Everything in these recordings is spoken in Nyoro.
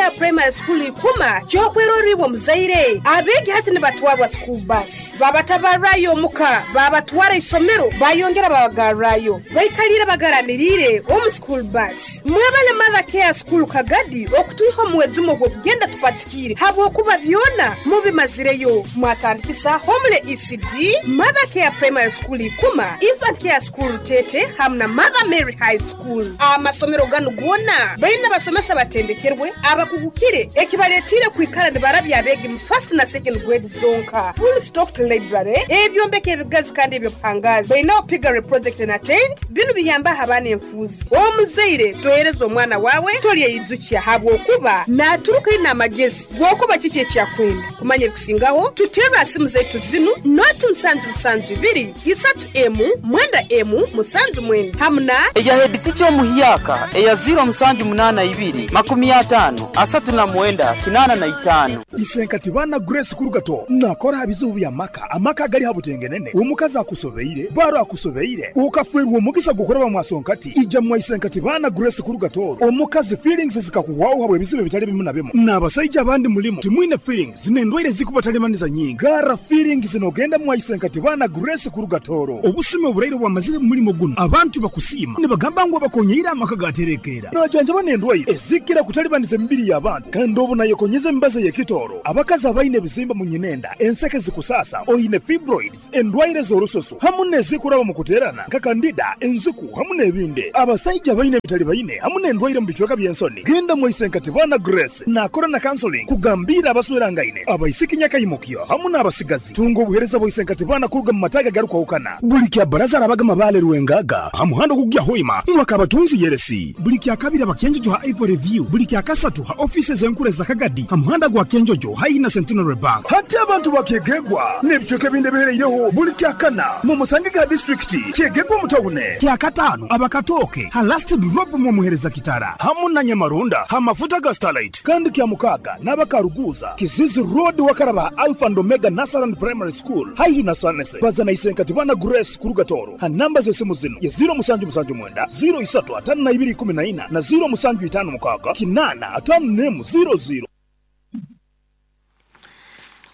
Care Primary School Ikuma ky'okwerorra iwe omuzaire. Abeegi hati nibatwarwa school bus, babatabarrayo omuka, babatwara isomero, bayongera babagarrayo. Baikaliire bagaramiriire omu school bus. Mwebale Mother Care School Kagadi okutwiha omu mwejumo gw'okugenda tupatikiire habwokuba byona mubimazireyo. Mwatandikisa Homely ECD, Mother Care Primary School Ikuma, Infant Care School Rutete hamu na Mother Mary High School. Amasomero ganu goona baine abasomesa abatendekerwe, abakugukire ekibaletiire kwikara nibarabya abeegi mu first na second grade zonka. Full stocked library, ebyombeko ebigazi kandi eby'obuhangaazi. Bainaho piggery project and attend, binu biyambaho abaana enfuuzi. Omuzaire tohereza omwana waawe tolyeyijukya habwokuba naaturuka aine amagezi g'okuba kiki eki akwenda. Kumanya ebikusingaho, tuterre ha simu zaitu zinu, noti musanju musanju ibiri, isatu emu, mwenda emu, musanju mwenda hamu na. Eya hediticha omuhyaka eya ziiro musanju munaana ibiri, makumi ataano, asatu na mwenda, kinaana na itaano. Isenkati baana Grace Kurugato nakora ha bizibu by'amaka, amaka agali ha butengenene, omukazi akusobeire, baro akusobeire, okafwerwa omugisa gw'okuraba mwasonkati, ija mwa Isenkati baana Grace Kurugato, omukazi feelings zikakuhwaho habw'ebizibu ebitali bimu na bimu, n'abasaija abandi mulimu timwine feelings n'endwaire zikubatalimaniza nyingi. Garra feelings n'ogenda mwa Isenkati baana Grace Kurugatoro. Obusumi oburaire obwamazire mu mulimo gunu, abantu bakusiima nibagamba ngu abakonyeire amaka gaterekeera. Najanjaba n'endwaire ezikira kutalibaniza emibiri y'abantu kandi obu nayekonyeza emibazi ey'ekitooro. Abakazi abaine ebizimba mu nyinenda, enseke zikusaasa, oine fibroids, endwaire z'orususu hamu n'ezikuraba mu kuteerana nka kandida, enziku hamu n'ebindi. Abasaija abaine ebitalibaine hamu n'endwaire mu bicweka by'ensoni, genda mwa Isenkati Baana Grace naakora na counseling kugambiira abaswerangaine, abaisiki nyakaimukyo hamu n'abasigazi. Tunga obuheereza bwa Isenkati Baana kuruga mu mataagi agarukwahukana. Buli kya Baraza arabaga Mabaale Rwengaga ha muhanda ogukugya Hoima mwaka Kabatunzi Yeresi. Buli kya Kabiri aba Kyenjojo ha Ivory View. Buli kya Kasatu ha ofiisi ez'enkuru eza Kagadi ha muhanda gwa Kyenjojo haihi na Centenary Bank. Hati abantu ba Kyegegwa n'ebicweka ebindi ebihereireho buli kya Kana mumusangege ha disiturikiti Kyegegwa omu tawune. Kya Kataano aba Katooke ha Last Drop mwomuhereza Kitara hamu na Nyamarunda ha mafuta ga Starlight. Kandi kya Mukaaga n'aba Karuguuza, Kizizi Road wakaraba ha Alpha and Omega Nursery and Primary School haihi na Sanese. Baza na Isenkati Bana Grace kuruga Tooro ha namba z'esimu zinu ye ziiro musanju musanju mwenda, ziiro isatu ataano na ibiri ikumi na ina na ziiro musanju itaano mukaaga kinaana ataano n'emu ziiro ziiro.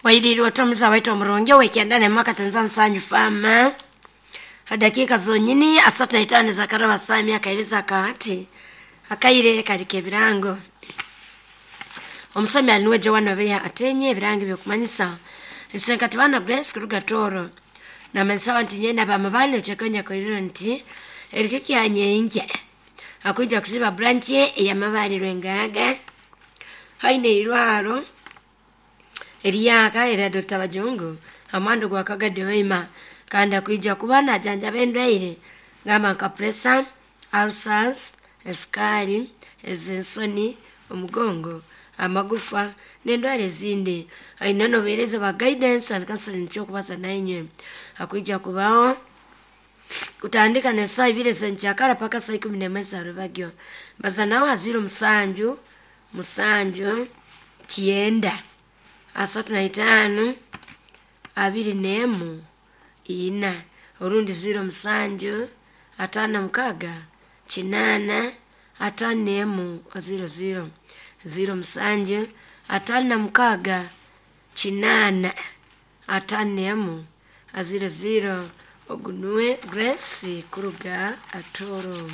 Wairiirwe ota omuza waitu omurungi ow'ekyenda n'emu akatenza nsanju faama ha dakiika zonyini asatu na itaano ez'akaraba saaha emyaka akahati akaire kali k'ebirango. Omusomi ali nuwe Joan Obeya Atenye ebirango eby'okumanyisa Isenkati Baana Grace kuruga Tooro namanyisa abantu nyena ab'amabaale okyekanya koiriro nti erikyo kyanyenkya akwija kusiba branch ye ey'amabaale Rwengaga haine eirwaro eryaka erya Dr. Bajungu ha muhanda gwa Kagadi Hoima kandi akwija kuba najanjaba endwaire gamba nka pressure, ulcers, esukari, ez'ensoni, omugongo, amagufa n'endwara ezindi. Aine n'obuheereza bwa guidance and counseling ky'okubaza nainywe akwija kubaho kutandika n'esaaha ibiri ez'enkyakara paka saa ikumi n'emwe za rubagyo. Baza nawe ha ziiro musanju musanju kyenda asatu na itaano abiri n'emu ina orundi ziiro musanju ataano na mukaaga kinaana ataano n'emu ziiro ziiro ziiro musanju ataano na mukaaga kinaana ataano n'emu ziiro ziiro ogu nuwe Grace kuruga Atooro.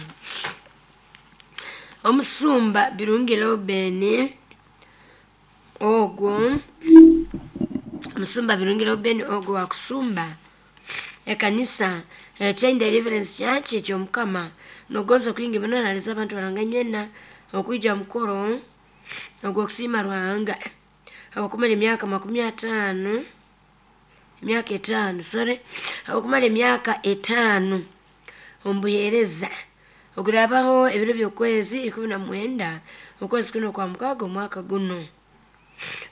Omusumba Birungi Reuben ogwo omusumba Birungi Reuben ogwo wakusumba ekanisa Chain Deliverance Church eky'Omukama nogonza kwingi muno naleza abantu baranganywena okwija mukoro ogw'okusiima Ruhanga habw'okumara emyaka makumi ataano emyaka etaano sorry habw'okumara emyaka etaano omu buheereza oguraabaho ebiro by'okwezi ikumi na mwenda okwezi kuno kwa mukaaga omwaka guno.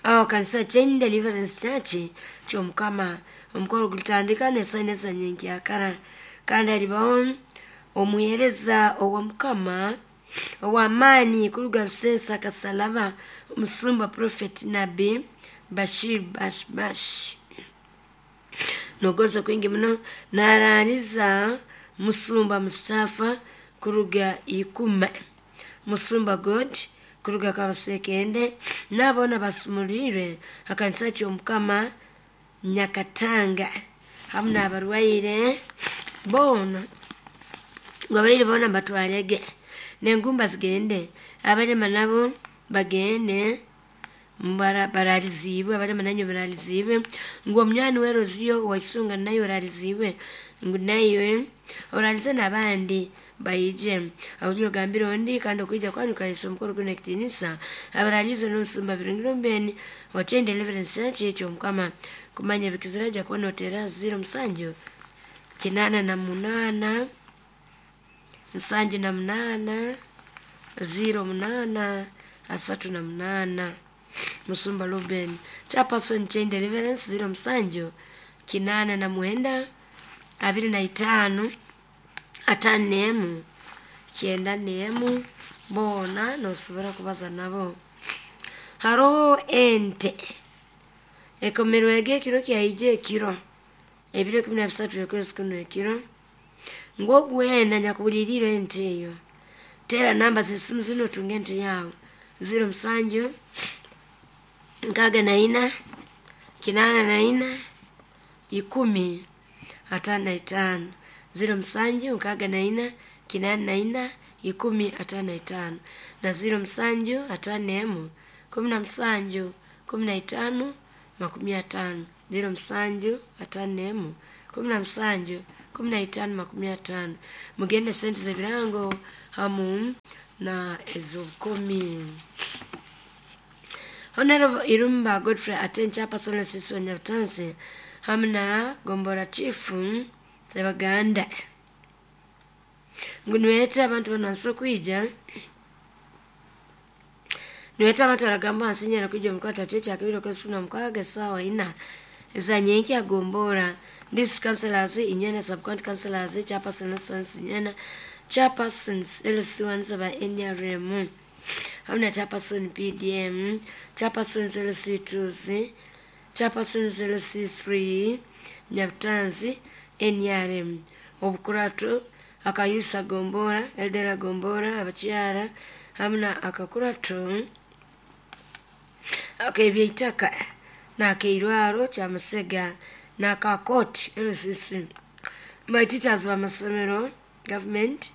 Aho kanisa Chain Deliverance Church ky'Omukama omukoro gulitandika n'esaaha ina ez'enyenkyakara kandi halibaho omuheereza owa Mukama ow'amaani kuruga Ruseesa Kasalaba omusumba Prophet Nabbi Bashir Bash Bash. Nogonza kwingi muno naraaliza Musumba Mustafa kuruga Ikuma, Musumba God kuruga Kabasekende n'aboona basimulirwe akanisa ky'Omukama Nyakatanga hamu n'abarwaire boona, ngu abarwaire boona mbatwarege n'engumba zigende, abalema nabo bagende baraliziibwe, abalema nanywe baraliziibwe, ngu omunywani weroziyo waisunga naye oraliziibwe, ngu naiwe oralize n'abandi baije. Aho ogambire ondi kandi okwija kwanyu kukalisa omukoro guno ekitiinisa abaralize n'omusumba Birungi Ruben wa Chain Deliverance Church eky'Omukama. Kumanya ebikizira ajja kuba noteera 07 88 78 08 38. Musumba Ruben Chairperson Chain Deliverance 07 89 25 51 91 boona nosobora kubaza nabo. Haroho ente ekomerwege ekiro kyaija ekiro ebiro 13 ekwezi kuno ekiro, ngu ogwena nyakubulirirwe ente eyo tera namba z'esimu zino otunge ente yawe 07 64 84 10 55 07 64 84 10 55 na 07 51 17 15 50 07 51 17 15 50. Mugende sente z'ebirango hamu na ez'obukomi. Honorable Irumba Godfrey Aten Chairperson Sisi wa Nyabutansi hamu na Gombora Chief Sebaganda ngu niweta abantu bano wansi okwija, niweta abantu aragamba wansi nyera kwija omukwata kye kyakabiri okwezi kumi na mukaaga esaawa ina ezanyenki agombora district councillors inywena, sub county councillors, chairperson sons inywena, chairpersons LC1 ba NRM hamu na chairperson PDM, chairpersons LC2, chairpersons LC3 Nyabutansi NRM, obukurato akayusa gombora, eldera gombora, abakyara hamu na akakurato ak'ebyeitaka n'akeirwaro kyamusega n'akakoti LCC, my teachers b'amasomero government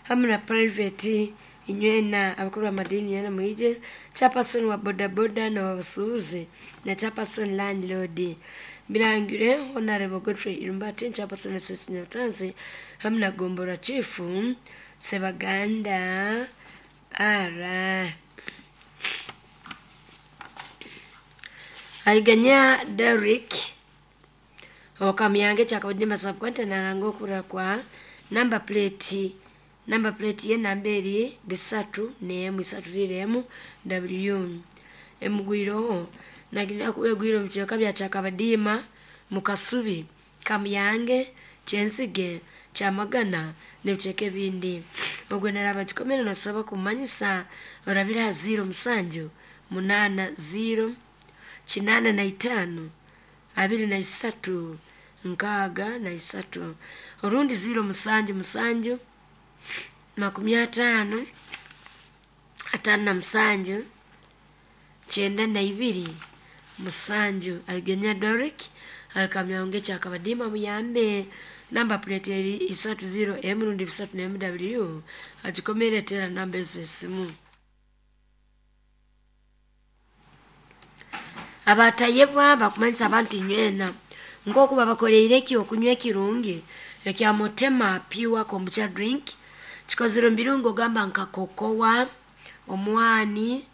hamu na private inywena, abakuru b'amadini inywena mwije, chairperson wa bodaboda na wabasuubuzi na chairperson landlord. Birangire Honorable Godfrey Irumbati Chairperson SSC Nyabutansi hamu na Gombora Chief Sebaganda ara. Aliganya Derrick okamyange kyakabadimba subcounty naranga okura kwa number plate ye namba eri 3 nemu 3 W emugwiroho nagina kubegwiro mu kiyoka bya Kyakabadima mukasubi Kamyange Kyenzige Kyamagana n'ebicweka ebindi. Ogwe naraba kikomere nosaba kumanyisa orabira 07 80 85 23 63 orundi 07 7 50 57 92 7. Aligenya Doric akamyange Kyakabadima muyambe namba plate eri 30 M rundi 3 M W agikomere tera namba z'esimu. Abatayebwa bakumanyisa abantu inywena nkoku babakoleire ekyokunywa ekirungi ekya Motema Pure Kombucha Drink kikozire mu birungo gamba nka kokowa, omwani,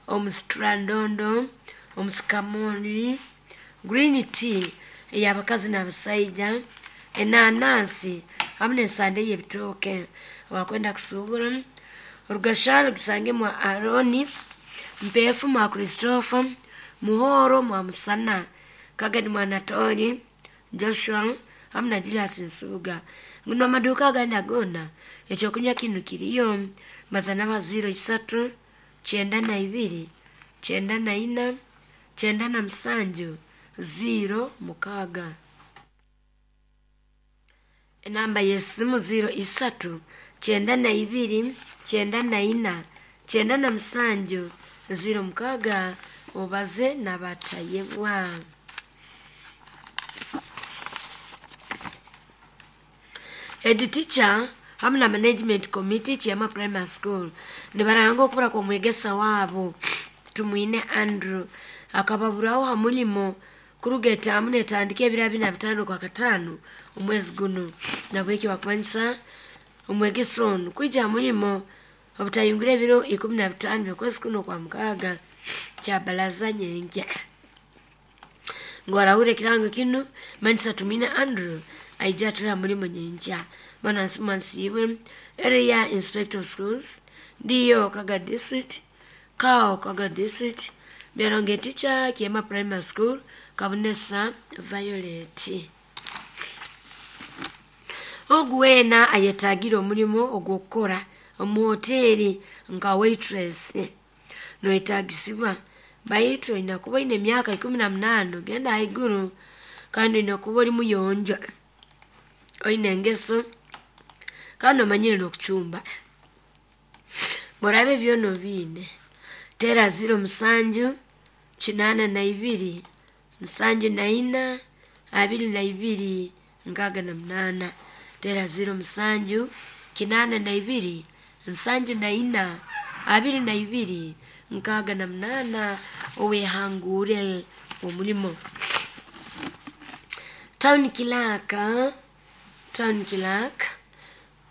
omusitrandondo, omusikamoni, green tea ey'abakazi n'abasaija, enanansi hamu n'ensande y'ebitooke. Wakwenda kusuubura orugasharo gisange mwa Aroni Mpefu mwa Christopher Muhoro mwa Musana Kagadi mwa Natori Joshua hamu na Julius Nsubuga. Nguno amaduka agandi agona ekyokunywa kinu kiriyo mazana ba 03 92 94 97 06. Enamba y'esimu 03 92 94 97 06 obaze nabatayebwa. Head teacher hamu na management committee Kiama Primary School nibaranga okubura kw'omwegesa waabo Tumwine Andrew akababuraho ha mulimo kuruga etaamu netandika ebiro 25 kwa kataano omwezi guno. Nabwekyo bakumanyisa omwegesa onu kwija ha mulimo obutayingura ebiro 15 by'okwezi kuno kwa mukaaga kya baraza nyenkya. Ngu arahurra ekirango kinu manyisa Tumwine Andrew aija atule ha mulimo nyenkya. Bwana Nsiibwe area inspector of schools DO Kaga district Kao Kaga district Byaronge teacher Kiema Primary School Kabonesa Violet. Ogu weena ayetaagire omulimo ogw'okukora omu hoteeri nka waitress noyetaagisibwa baitu oine kuba oine emyaka 18 ogenda haiguru kandi oine kuba oli muyonjo, oine engeso kandi omanyire n'okucumba. Bworaaba byona obiine, teera 07 82 74 22 68. Teera 07 82 74 22 68 owehangure omulimo. Town clerk, town clerk